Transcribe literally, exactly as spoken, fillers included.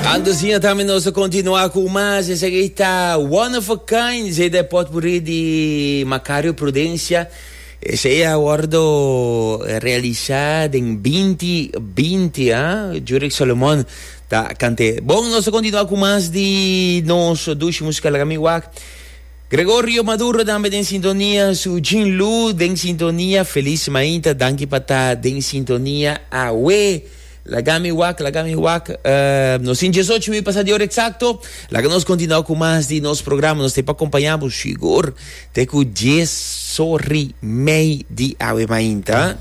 Anto asina tambe nos ta continua cu mas. Esaki ta One of a Kind, esey ta e potpourri di Macario Prudencia. Esey a wordo realisa den binti binti, ah. Jurick Solomon ta cant'e. Bon, nos ta continua cu mas di nos dushi musica. Laga mi wak. Gregorio Maduro tambe den sintonia, su Jean Lu den sintonia, feliz mainta, danki pa ta den sintonia awe. Laga mi wak, laga mi wak, uh, nos tin diesocho minuut pasa di ora exacto, laga nos continua cu mas di nos programa, nos te pa acompaña bo sigur te cu dies sorry mei di awe mainta.